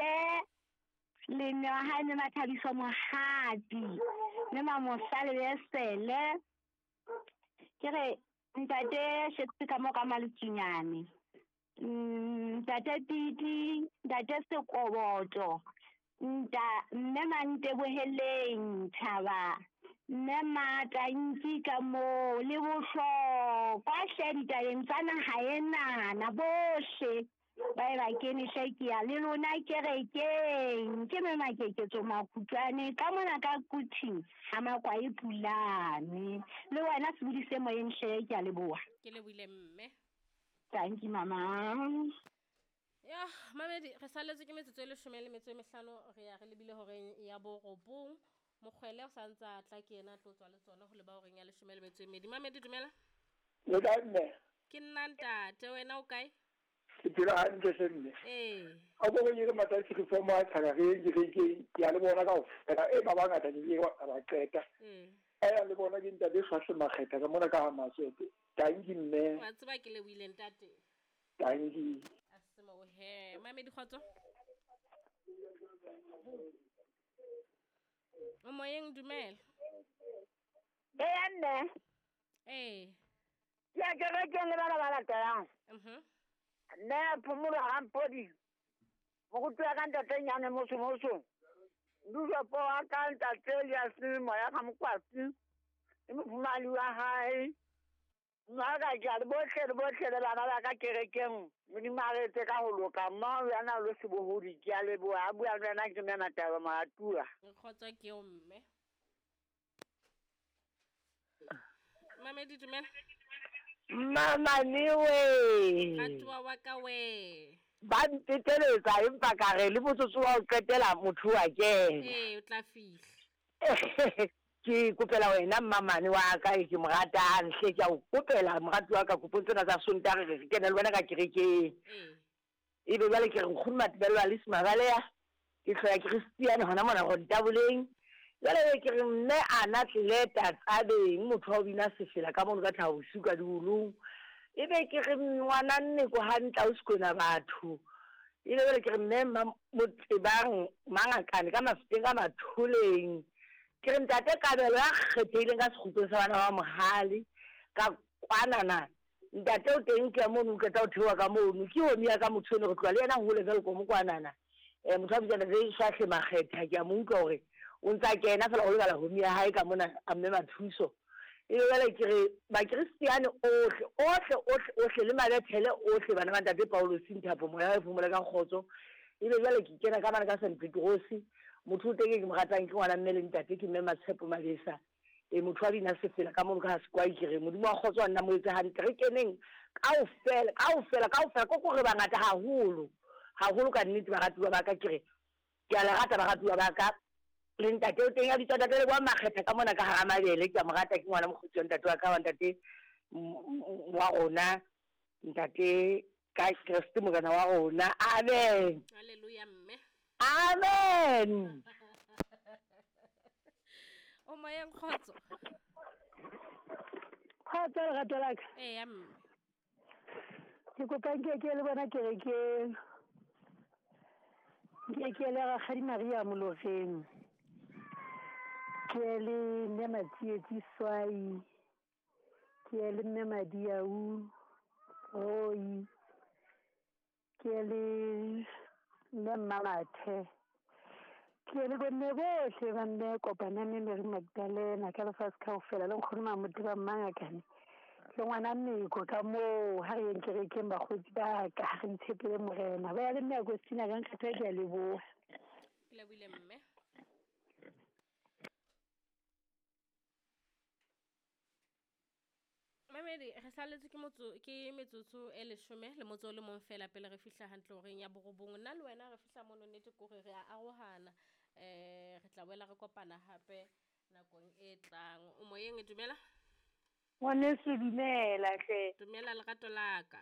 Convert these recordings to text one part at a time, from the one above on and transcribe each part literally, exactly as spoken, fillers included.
Modise le mme wa hae mme Mathabiso Mohapi mme Mamosa Lebesele. Ke re ntate Shakespeare ka mo ka Maletsunyane, ntate Titi, ntate Sekoboto, nta mme Manteboheleng Thaba, mme Matanki ka moo le bohlokwa hle ditabeng tsa naha enana bohle ba e ba kene hle ke ya le lona kerekeng. Ke mme Makeketso Makutlwane ka mona ka Kuting ha Makwae Pulane. Le wena sebodi se moyeng hle, ke a leboha. Ke lebohile mme. Thank you mama. Ya mamedi re saletse ke metsotso e leshome le metso e mehlano, re ya re lebile horeng ya borobong. Mokgwele o sa ntse a tla ke yena a tlo tswa le tsona ho leba horeng ya leshome le metso e mmedi. Mamedi dumela. Le kae mme? Ke nna ntate, wena o kae? Ke phela hantle hle mme. Ee. A ko re ke matsatsi re forma tshaka re ke re ke ke a le bona kaofela e ba bangata ke ke ba qeta. Ee. A ya le bona ke ntate Swahle Makgetha ka mona ka ha Maswete. Tanki mme. Wa tseba ke lebohile ntate. Tanki. A se mo he. Mamedi kgotso. O moyeng dumela. Ee mme. Ee. Ke a kerekeng le bana ba latelang. Mhm. Mme Phomolo Rampodi, moruti wa ka ntate Nyane Mosomoso, Dujopo wa ka ntate Elias Moya ka Mokwatsi, le mofumahadi wa hae. Mma ka ke a le bohle le bohle le bana ba ka kerekeng. Modimo a re etse ka ho loka. Mma o yana lo sebohodi, ke a leboha. A bua le wena ke mme Mataba Moratua. Kgotso ke eo mme. Mamedi dumela. Mama newe. Ratuwa wa ka we. Ba nteteletsa empa ka re le motsotso wa ho qetela motho wa kena. Ee, o tla fihla. Ke kopela wena mmamane wa ka e ke mo ratang hle, ke a o kopela morati wa ka kopong tsena tsa Sontaha re re kene le wena ka kerekeng. Ee. Ebe jwale ke re nkgono Matibello Alice Mabaleya, ke hloya Christian hona mona Rontaboleng. Jwale ke re mme ana tleleta tsabeng motho wa ho bina sefela ka mono ka tlhaho bosiu ka diolong. Ebe ke re ngwana nne ko hantle o sekona batho. Ebe jwale ke re mme mma Motebang Mangakane ka Mafeteng ka Matholeng. Ke re ntate Kabelo ya kgethehileng ka sekgutlo sa bana ba Mohale ka kwanana. Ntate o teng ke mono o qeta ho theoha ka mono. Ke homi ya ka motho eno re tloha le yena hole jwalo ko mokwanana. Eh motho a bitswa ntate Swahle Makgetha, ke a mo utlwa hore o ntsa kena fela o lebala homi ya hae ka mona a mme Mathuso. Ebe jwale ke re bakristiane ohle ohle ohle ohle le mabethele ohle bana ba ntate Paulo Sinthapo moya wa phomole ka kgotso. Ebe jwale ke kena ka bana ka Saint Petrosi. Motho o teng ke mo ratang ke ngwana mme le ntate ke mme Matshepo Mabesa. E motho wa bina sefela ka mono ka Sekwai, ke re Modimo wa kgotso wa nna mo etse hantle. Re keneng kaofela kaofela kaofela ko ko re bangata haholo haholo ka nnete baratuwa ba ka, ke re ke a le rata baratuwa ba ka. Le ntate o teng a bitswa ntate Leboha Makgetha ka mona ka hara mabele, ke a mo rata ke ngwana mokgotsi wa ntate wa ka wa ntate wa rona ntate ka Kreste morena wa rona. Amen. Hallelujah mme. Amen. O moyeng kgotso. Kgotso lerato la ka. Ee mme. Ke kopa nke ke le bona kerekeng. Nke ke le Rakgadi Maria Moloreng. Ke le mme Matsietsi Swai. Ke le mme Madiau Roi. Ke le mme Mmamathe. Ke le bomme bohle ba mme Kopana mme Mary Magdalena ka lefatshe kaofela le nkgono Mamoteba Mmangakane le ngwana Meko ka moo. Ha re yeng kerekeng bakgotsi ba ka, ha re itshepele Morena. Ba ya le mme Agostina ka nkgetha, ke a leboha. Ke lebohile mme. Mamedi re saletse ke motso ke metsotso e leshome le motso o le mong fela pele re fihla hantle horeng ya borobong. Nna le wena re fihla mono nnete ke hore re a arohana. Eh re tla boela re kopana hape nakong e tlang. O moyeng dumela. Ngwaneso dumela hle. Dumela lerato la ka.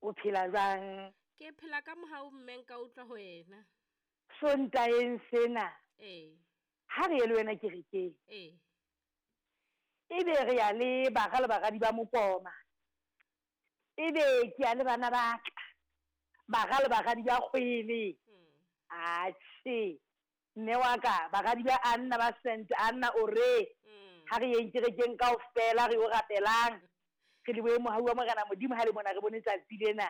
O phela jwang? Ke phela ka mohau mme nka utlwa ho wena. Sontaeng sena. Ee. Ha re ye le wena kerekeng. Ee. Ebe re ya le bara le baradi ba Mokoma. Ebe ke ya le bana ba ka. Bara le baradi ba Kgwele. Atjhe, mme wa ka baradi ba Anna ba Saint Anna o re ha re yeng kerekeng kaofela re yo rapelang, re lebohe mohau wa Morena Modimo ha le mona re bone tsatsi lena.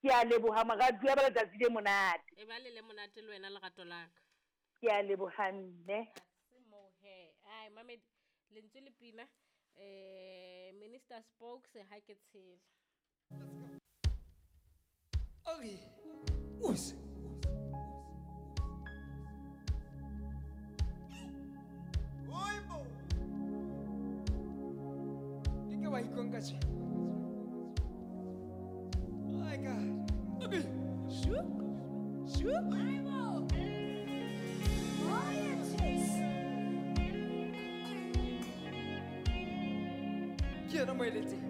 Ke a leboha moratuwa ba letsatsi le monate. E ba le le monate le wena lerato la ka. Ke a leboha mme. Se moo he. Ai mamedi lentswe le pina eh Minister Spokes ha ke tshela. Okay. Us. Oibo. Ke ke wa ikonka tje. Oh my God. Okay. Shu. Shu. Oibo. Oh yes. Ke yena moeletsi.